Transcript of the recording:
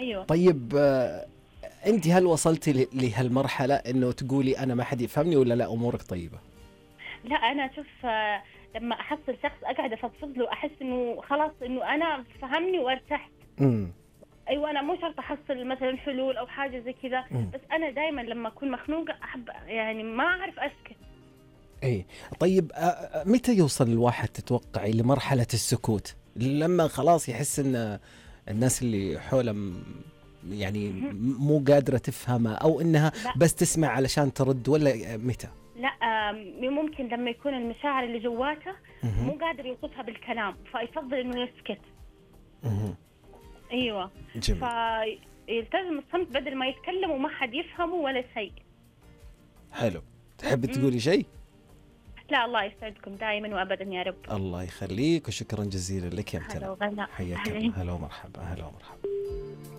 ايوه. طيب انت هل وصلتي لهالمرحلة انه تقولي انا ما حد يفهمني، ولا لا امورك طيبة؟ لا انا شوف، لما احصل شخص اقعد افضفض له احس انه خلاص انه انا فهمني وارتحت. ايوه انا مو شرط احصل مثلا حلول او حاجه زي كذا، بس انا دائما لما اكون مخنوقه احب يعني ما اعرف اسكت. ايه طيب متى يوصل الواحد تتوقعي لمرحلة السكوت؟ لما خلاص يحس ان الناس اللي حوله يعني مو قادرة تفهمه، او انها لا. بس تسمع علشان ترد، ولا متى؟ لا ممكن لما يكون المشاعر اللي جواته مو قادر يوصفها بالكلام فيفضل انه يسكت. ايوه. جميل. فيلتزم الصمت بدل ما يتكلم وما حد يفهمه ولا شيء. حلو. تحبي تقولي شيء؟ لا الله يسعدكم دائما وابدا يا رب. الله يخليك، وشكرا جزيلا لك يا هلا امتنة. وغلا. حياك الله. هلا ومرحبا. هلا ومرحبا.